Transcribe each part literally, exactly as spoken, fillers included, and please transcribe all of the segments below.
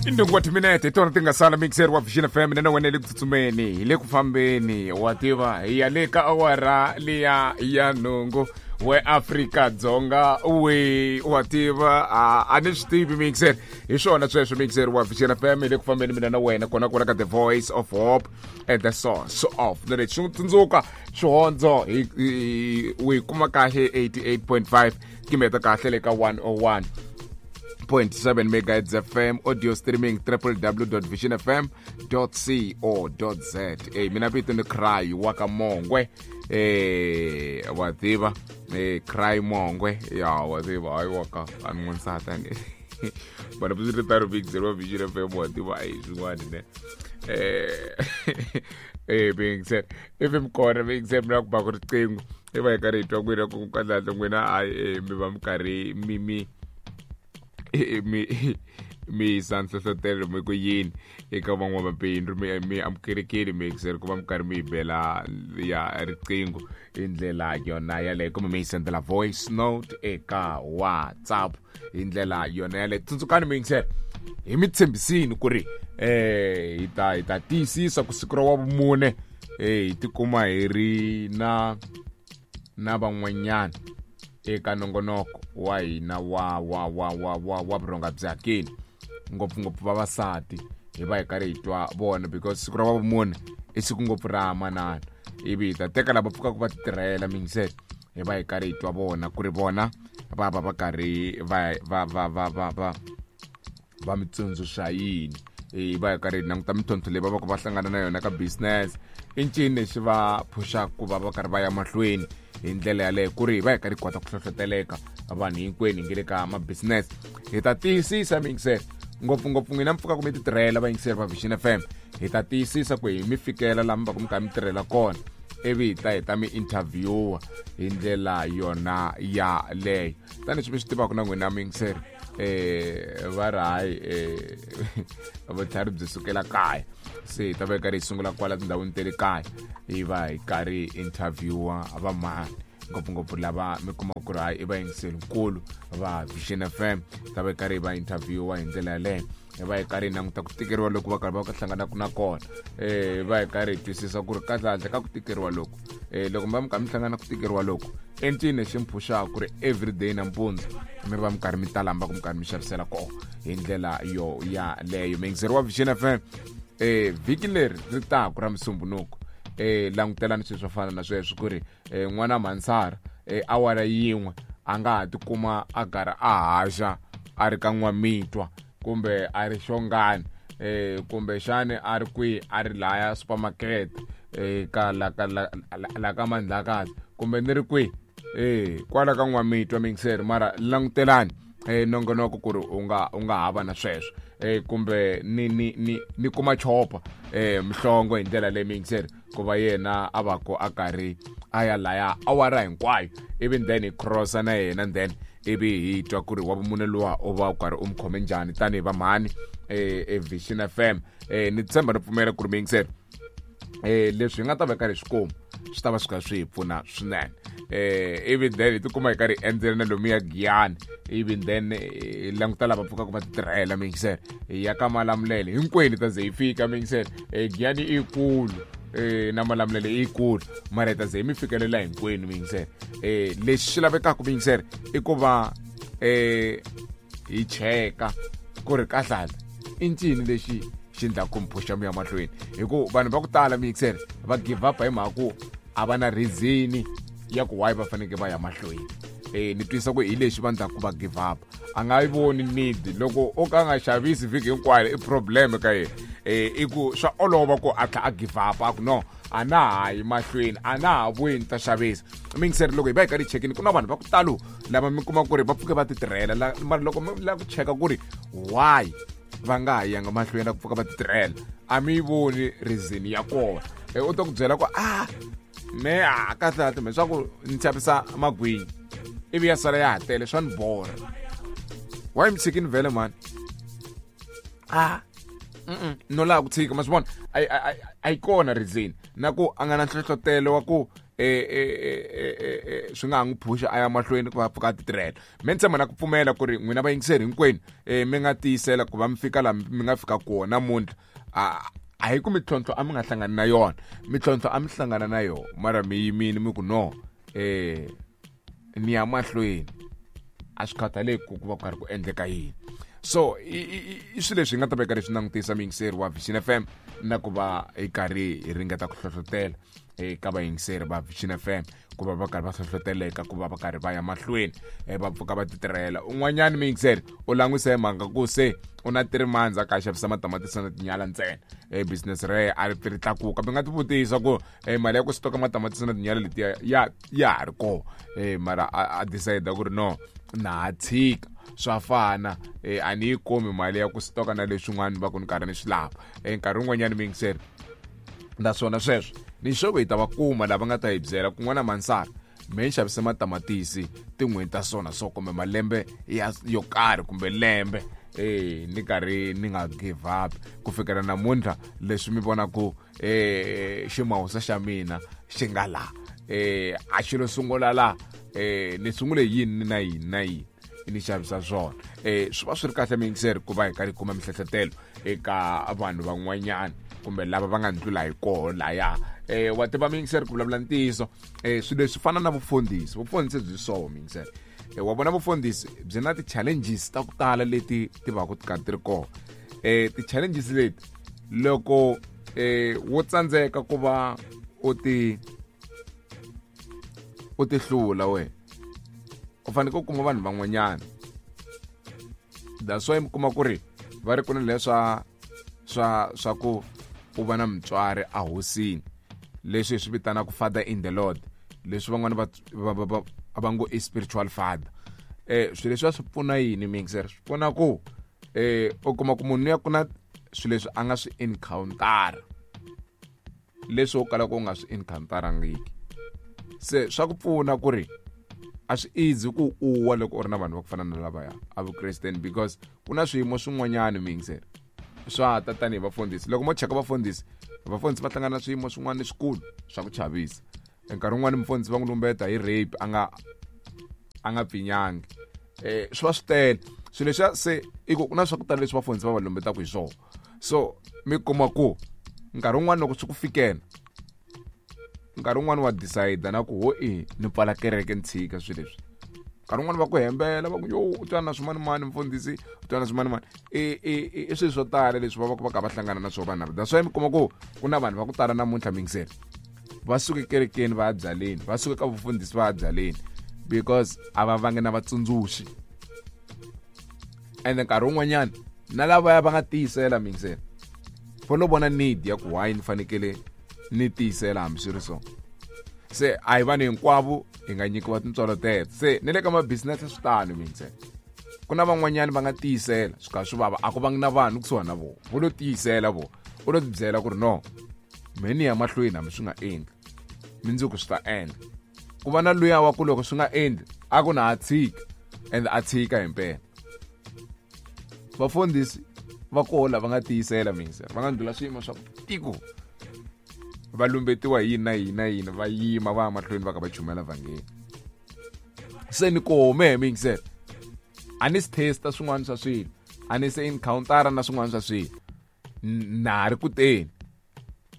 Indungu wa timinete hi tona ti nga sala mixer wa Vision F M na wena le ku tsutsumeni hi le ku fambeni wa tiva hi ya le ka awara liya ya nhungu we Afrika Dzonga we wa tiva a ni swi tivi mixer hi swona sweswo mixer wa Vision F M hi le ku fambeni mina na wena kona kona ka The Voice of Hope and the Source of Knowledge. Tsundzuka xihondzo hi u kuma kahle eighty-eight point five kimeta kahle le ka one oh one point seven megahertz F M, audio streaming w w w dot vision f m dot co dot z a. Mina vito ni Cry wa ka Mongwe eh wa tiva eh Cry Mongwe ya wa tiva hayi wa ka an'wansata ni bana buzire taro big zero Vision F M wa tiva ai swin'wana ne eh eh being said if I'm kona being said mina ku ba ku riqingho i va hi karhi hi twa n'wina ku kahlekahle n'wina hayi mi va mi karhi mi mi mi mi yisa nhlohlotelo mi ku yini eka van'wamabindzu mi mi amukelekile mixer ku va mi karhi mi yi bela ya riqingho hi ndlela yona yaleyo kumbe mi yi sendela voice note eka WhatsApp hi ndlela yona yaleyo. Tsundzukani mixer hi mi tshembisini ku ri eh hi ta hi ta tiyisisa ku siku ra wa vumune eh hi tikuma hi ri na na van'wanyana eka nongonoko wa hina wa wa wa wa wa wa vurhonga bya kini ngopfungopfu vavasati hi va hi karhi hi twa vona because siku ra wa vumune i siku ngopfu ra manana ivi hi ta teka lava pfukaka va titirhela mingisele hi va hi karhi hi twa vona ku ri vona va va va karhi va va va va va va va mi tsundzuxa yini hi va hi karhi hi languta mintlhontlho leyi va va ku va hlangana na yona ka business i ncini lexi va phuxaka ku va va karhi va ya mahlweni hi ndlela yaleyo ku ri hi va hi karhi hi kota ku hlohloteleka vanhu hinkwenu hi nge le ka ma-business. Hi ta tiyisisa mingisele ngopfungopfu n'wina mi pfukaka mi titirhela vayingiseri va Vision F M hi ta tiyisisa ku hi mi fikela laha mi va ku mi karhi mi tirhela kona ivi hi ta hi ta mi interviewa hi ndlela yona yaleyo tanihileswi mi swi tivaka na n'wina muyingiseri eh va ri hayi eh vutlhari byi sukela kaya se hi ta va hi karhi hi sungula kwala tindhawini ta le kaya hi va hi karhi hi interviewa vamhani ngopfungopfu lava mi kuma ku ri hayi i vayingiserinkulu va Vision F M ta va hi karhi hi va interviewa hi ndlela yaleyo hi va hi karhi hi languta ku tikeriwa loko va karhi va hlanganaka na kona eh va hi karhi hi twisisa ku ri kahlekahle ka ku tikeriwa loku eh loko mi va mi karhi mi hlangana ku tikeriwa loku i ncini lexi mi phuxaka ku ri everyday nampundzu mi va mi karhi mi tala mi va ku mi karhi mi xavisela kona hi ndlela yo yaleyo. Muyingiseri wa Vision F M eh vhiki leri ri taku ra Musumbunuku eh langutelani swilo swo fana na sweswo ku ri eh n'wana Mansara eh awara yin'we a nga ha tikuma a karhi a haxa a ri ka N'wamitwa kumbe a ri Xongani eh kumbe xani a ri kwihi a ri laya supermarket eh ka la ka la, la, la ka Mandlakazi kumbe ni ri kwihi eh kwala ka N'wamitwa mixer mara langutelani eh nongonoko ku ri u nga u nga hava na sweswo eh kumbe ni ni ni ni kuma chopa eh Mhlongo hi ndlela leyi mixer ku va yena a va ku a karhi a ya laya awara hinkwayo ivi then hi crossa na yena then ivi hi twa ku ri wa vumune luwa u va u karhi u mi khome njhani tanihi vamhani eh e Vision F M eh ni tshemba ni pfumela ku ri mixer eh leswi hi nga ta va karhi swi kuma swi ta va swi kha swi hi pfuna swinene eh ivi then hi tikuma hi karhi hi endzela na lomuya Giyani ivi then hi languta lava pfukaka va titirhela mixer hi ya ka Malamulele hinkwenu ta ze hi fika mixer eh Giyani i kulu eh na Malamulele i kulu mara hi ta ze hi mi fikelela hinkwenu mixer eh lexi xi lavekaka mixer i ku va eh hi cheka ku ri kahlala i ncini lexi xi endlaka ku mi phuxa mi ya mahlweni hi ku vanhu va ku tala mixer va give up hi mhaka ku a va na reason ya ku why va fanekele va ya mahlweni eh ni twisa ku hi lexi va endlaka ku va give up a nga yi voni need loko o ka nga xavisi vhiki hinkwayo i problem ka yena eh i ku swa olova ku a tlha a give up a ku no a na ha yi mahlweni a na ha vuyi ni ta xavisa mixer loko hi va hi karhi hi chekini ku na vanhu va ku talo lava mi kuma ku ri va pfuke va ti tirhela mara loko mi lava ku cheka ku ri why va nga ha yanga mahlweni na ku pfuka va ti tirhela a mi yi voni reason ya kona u ta ku byela ku a me a kahlekahle me swa ku ni xavisa magwinya ivi ya sala ya ha tele swa ni borha why mi tshikini vhele mani a no lava ku tshika ma swi vona a yi kona reason na ku a nga na nhlohlotelo wa ku eh swi nga ha n'wi phusha a ya mahlweni ku va pfuka a ti tirhela. Me ni tshemba na ku pfumela ku ri n'wina vayingiseri hinkwenu eh mi nga tiyisela ku va mi fika laha mi nga fika kona namuntlha. A a hi ku mintlhontlho a mi nga hlangani na yona, mintlhontlho a mi hlangana na yona, mara mi yimile mi ku no eh ni ya mahlweni, a swi khathaleki ku ku va ku karhi ku endleka yini. So i swilo leswi hi nga ta veka leswi langutisa muyingiseri wa Vision F M na ku va hi karhi hi ringeta ku hlohlotela eka vayingiseri va Vision F M ku va va karhi va hlohloteleka ku va va karhi va ya mahlweni va pfuka va ti tirhela. Un'wanyani muyingiseri u languse hi mhaka ku se u na three months a ka xavisa matamatisi na tinyala ntsena, e business re a ri ri tlakuka. Mi nga ti vutisa ku mali ya ku stoka matamatisi na tinyala letiya ya ya ha ri kona, mara a decide ku ri no na ha tshika swa fana, a ni yi kumi mali ya ku stoka na leswin'wana va ku ni karhi ni swi lava. Nkarhi wun'wanyani muyingiseri naswona sweswo ni xoko hi ta va kuma lava nga ta hi byela kun'wana mansara me ni xavise matamatisi tin'hweti ta swona so kumbe malembe ya yo karhi kumbe lembe eh ni karhi ni nga give up ku fikela namuntlha leswi mi vonaku eh ximawusa xa mina xi nga la eh a xi lo sungula la eh ni sungule yini na yini na yini ni xavisa swona. Eh swi va swi ri kahle muyingiseri ku va hi karhi kuma mihlohletelo eka vanhu van'wanyana kumbe lava va nga ndlula hi koho laya. Eh wa tiva muyingiseri ku vulavula ntiyiso eh swilo leswi fana na vufundhisi, vufundhisi byi so muyingiseri eh wa vona vufundhisi byi na ti-challenges ta ku tala leti ti va ku ti karhi ti ri kona. Eh ti-challenges leti loko eh wo tsandzeka ku va u ti u ti hlula wena u fanele ku kuma vanhu van'wanyana. That's why mi kuma ku ri va ri ku na leswa swa swa ku u va na mutswari a hosini, leswi hi swi vitanaka father in the Lord, leswi van'wana va va va ngo i spiritual father. Eh swilo leswi swi pfuna yini mixer? Swi pfuna ku eh u kuma ku munhu ya ku na swilo leswi a nga swi encounter leswi u kalaka u nga swi encounterangiki. Se swa ku pfuna ku ri a swi easy ku u wa loko u ri na vanhu va ku fana na lavaya a vukresteni, because ku na swiyimo swin'wanyana mixer swa ta tanihi vafundhisi. Loko mo cheka vafundhisi, vafundhisi va hlangana na swiyimo swin'wana leswikulu swa ku chavisa. Nkarhi wun'wani mufundhisi va n'wi lumbeta hi rape a nga a nga pfinyangi, eh swi va swi tele swilo leswiya. Se i ku ku na swa ku tala leswi vafundhisi va va lumbetaka hi swona. So mi kuma ku nkarhi wun'wani loko swi ku fikela nkarhi wun'wani wa decide na ku ho i ni pfala kereke ni tshika swilo leswi. Nkarhi wun'wani va ku hembela va ku yo u twana na swimanimani mfundhisi, u twana na swimanimani. I i i swilo swo tala leswi va va ku va kha va hlangana na swona vanhu lava. That's why mi kuma ku ku na vanhu va ku tala namuntlha muyingiseri va suke kerekeni va ya byaleni, va suke ka vufundhisi va ya byaleni, because a va vangi na vatsundzuxi. Ende nkarhi wun'wanyana na lavaya va nga tiyisela muyingiseri va lo vona need ya ku why ni fanekele ni tiyisela hambi swi ri so. Se a hi vanhu hinkwavo hi nga nyikiwa tintswalo teto. Se ni le ka ma-business swi tano muyingiseri, ku na van'wanyani va nga tiyisela swi kha swi vava, a ku vangi na vanhu kusuhani na vona, vo lo tiyisela vona, u lo tibyela ku ri no me ni ya mahlweni hambi swi nga endli mindzuku swi ta endla. Ku va na luya wa ku loko swi nga endli a ku na a tshika, and a tshika himpela. Vafundhisi va koho lava nga tiyisela muyingiseri, va nga ndlula swiyimo swa tiko, va lumbetiwa hi yini na yini na yini, va yima va ya mahlweni va kha va chumela vhangeli. Se ni kome muyingiseri a ni swi testa swin'wana swa swilo, a ni se encounter na swin'wana swa swilo, na ha ri ku teni.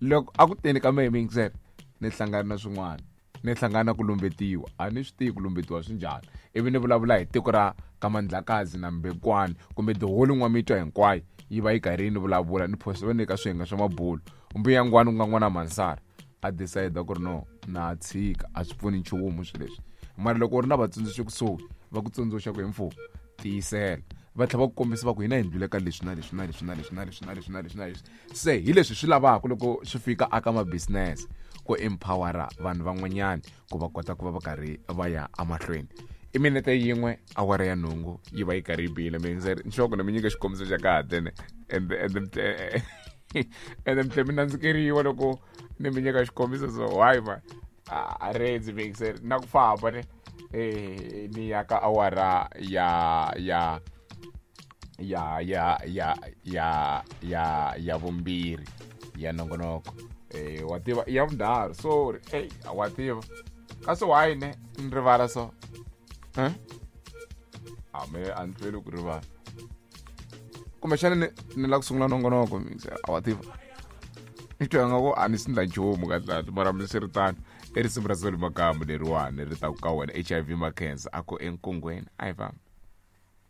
Loko a ku teni ka mehe muyingiseri ni hlangana na swin'wana, ni hlangana na ku lumbetiwa, a ni swi tivi ku lumbetiwa swi njhani. Ivi ni vulavula hi tiko ra ka Mandlakazi na Mbekwani kumbe tiholi N'wamitwa hinkwayo yi va yi karhi yi ni vulavula, ni phosa va nyika swiyenge swa mabulo. Mbuyangwani ku nga n'wana Mansara a decide ku ri no na tshika, a swi pfuni nchumu swilo leswi. Mara loko u ri na vatsundzuxi kusuhi va ku tsundzuxa ku hi mfumo tiyisela, va tlhela va ku kombisa va ku hina hi ndlule ka leswi na leswi na leswi na leswi na leswi na leswi na leswi na leswi. Se hi leswi swi lavaka loko swi fika aka ma-business ku empowera vanhu van'wanyana ku va kota ku va va karhi va ya emahlweni. I minete yin'we awara ya nhungu yi va yi karhi yi bile. Muyingiseri nxoko ni mi nyika xikombiso xa kahle ne ende ende ende mi tlhela mi nandzikeriwa loko ni mi nyika xikombiso. So why ma a rendzi muyingiseri na ku famba ne eh ni ya ka awara ya ya ya ya ya ya ya ya vumbirhi ya nongonoko. Eh wa tiva i ya vunharhu, sorry. Ey, wa tiva kasi why ne ni rivala so? Eh a me a ni hlweli ku rivala, kumbexana ni ni lava ku sungula nongonoko mixer, a wa tiva ni twa nga ku a ni swi ndla nchumu kahlekahle, mara miswiritano i risimu ra Solly Makamu leriwani ri taku ka wena H I V Mackenzie a ku enkungweni a hi fambi.